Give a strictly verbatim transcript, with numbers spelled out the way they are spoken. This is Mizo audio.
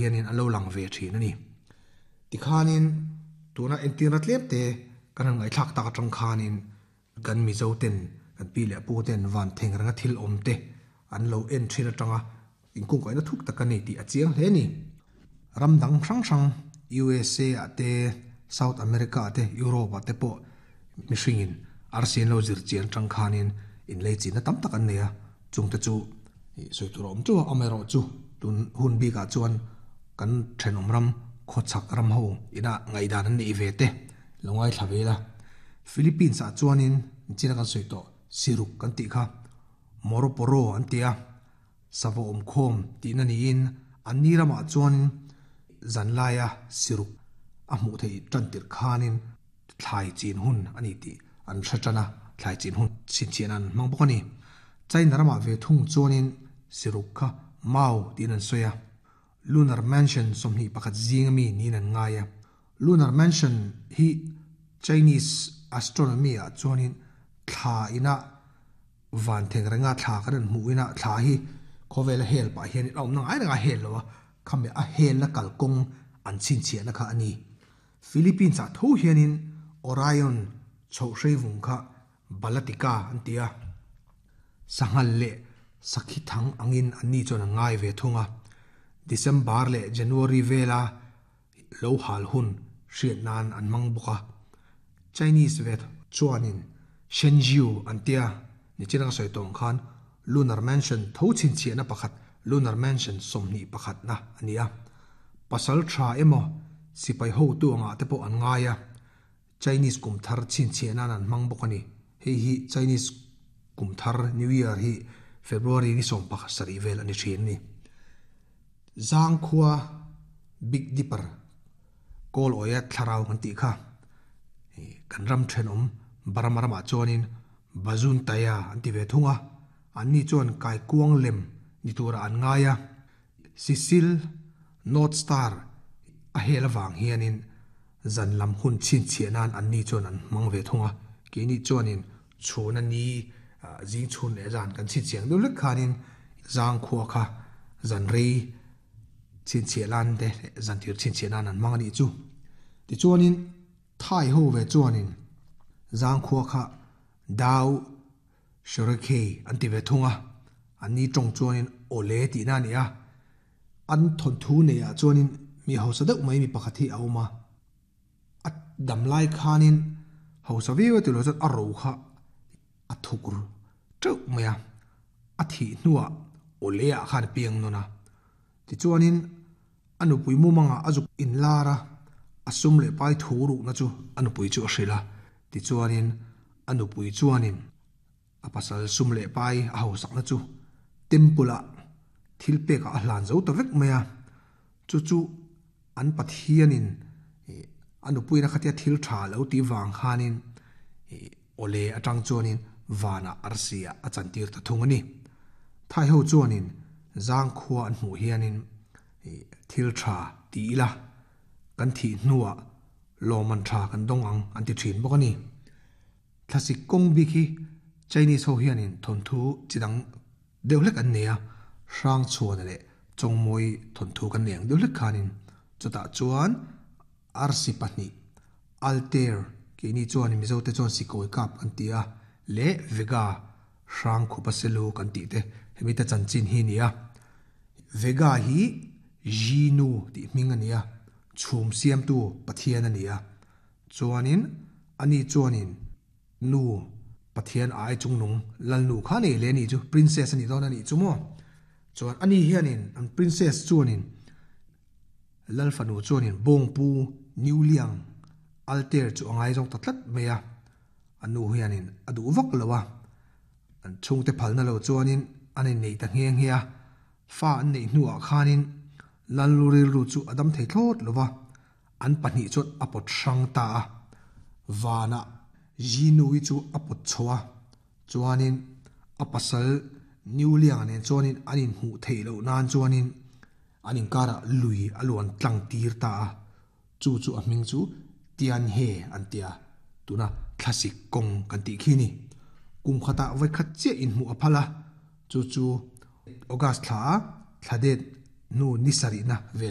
hianin an lo lang ve thin a ni. Tikhanin tuna entirna tlem te kan han ngaihthlak tak atang khanin kan Mizo ten kan pi leh pu ten van theng renga thil awm te an lo en thin atanga inkungkaihna thuk tak a ni tih a chiang hle a ni. Ram dang hrang hrang U S A ah te South America ah te Europe ah te pawh mihringin arsi an lo zir chian tang khanin inlei chinna tam tak an nei a, chungte chu sawi tur a awm teuh a, amaherawh chu tun hun bikah chuan kan thenawm ram khawchhak ram ho ina ngaihdan an neih ve te lo ngaithla ve ila. Philippines ah chuanin china kan sawi tawh siruk kan tih kha Moroporo an ti a, sava awm khawm tihna niin an ni ramah chuanin zanlaia siruk a hmuh theih tan tirh khanin thlai chin hun a ni tih an hre tan a, thlai chin hun chhinchhiah an hmang bawk a ni. China ramah ve thung chuanin siruk kha Mau tiin an sawi a, Lunar Mansion sawmhnih pakhat zing ami niin an ngai a. Lunar Mansion hi Chinese astronomy ah chuanin thla ina van theng renga thla kan an hmuh ina thla hi khawvel a hel pah hian a awmna ngai renga hel lo a, khami a helna kalkawng an chhinchhiahna kha a ni. Philippines ah tho hianin Orion chhoh hreivung kha Balatika an ti a, sanghal leh sakhi thang angin an ni chuan an ngai ve thung a. December leh January vela lo hal hun hriat nan an hmang bawk a. Chinese ve chuanin Shenzhou an ti a, nichina ka sawi tawh ang khan Lunar Mansion tho chhinchhiahna pakhat Lunar Mansion sawmhnih pakhatna a ni a. Pasal tha emaw sipai hotu angah te pawh an ngai a, Chinese kum thar chhinchhiah nan an hmang bawk a ni. Hei hi Chinese kum thar New Year hi February ni sawm pakhat sarih vel a ni thin a ni. Zangkhua Big Dipper kawl awia thlarau kan tih kha kan ram thenawm Burma ramah chuanin Bazun Taya an ti ve thung a, an ni chuan kaikuang lem ni tura an ngai a. Sisil North Star a hel avang hianin zan lam hun chhinchhiah nan an ni chuan an hmang ve thung a, keini chuanin chhuna ni zing chhun leh zan kan chhinchhiah ang deuh hlek khanin zangkhua kha zan rei chhinchhiah lan te leh zan tir chhinchhiah nan an hmang a nih chu. Tichuanin Thai ho ve chuanin zangkhua kha Dao Shorekhei an ti ve thung a, an ni tawng chuanin awle tihna a ni a. An thawnthu neiah chuanin mi hausa deuh mai mi pakhat hi a awm a, a damlai khanin hausa viau a tilo chuan a ro kha a thuk teuh mai a, a thih hnuah awle ah khan a piang nawn a. Tichuanin a nupui mumangah a zuk inlar a, a sum leh pai thu rukna chu a nupui chu a hrilh a. Tichuanin a nupui chuanin a pasal sum leh pai a hausakna chu temple ah thil pekah a hlan zo ta vek mai a. Chu chu an Pathianin a nupuina khatia thil tha lo tih vang khanin awle atang chuanin vanah arsi ah a chantir ta thung a ni. Thai ho chuanin zangkhua an hmuh hianin thil tha ti ila kan thih hnuah lawman tha kan dawng ang an ti thin bawk a ni. Thlasik kawng bik hi Chinese ho hianin thawnthu chi dang deuh hlek an nei a, hrang chhuana leh chawngmawi thawnthu kan nei ang deuh hlek khanin chutah chuan arsi pahnih Altair keini chuan Mizo te chuan sikawi kap an ti a leh Vega hrang khupa selu kan tih te hemi te chanchin hi a ni a. Vega hi Jinu tih hming a ni a, chhum siamtu Pathian a ni a, chuanin ani chuanin nu Pathian ai chungnung lalnu kha nei leh a nih chu, princess a nih dawn a nih chu maw. Chuan ani hianin an princess chuanin lalfanu chuanin bawngpu Niuliang Altair chu a ngai zawk ta tlat mai a, a nu hianin a duh vak lo a, an chhungte phalna lo chuanin an innei ta nghe nghe a. Fa an neih hnuah khanin lalnu rilru chu a dam thei thlawt lo va, an pahnih chuan a pawt hrang ta a. Vanah Jinui chu a pawt chho a, chuanin a pasal Niulianga nen chuanin an inhmuh theih loh nan chuanin an inkarah lui a luan tlang tir ta a, chu chu a hming chu Tianhe an ti a, tuna thlasik kawng kan tih khi ni. Kum khatah vawikhat chiah inhmuh a phal a, chu chu August thla a thla det hnu ni sarihna vel hi.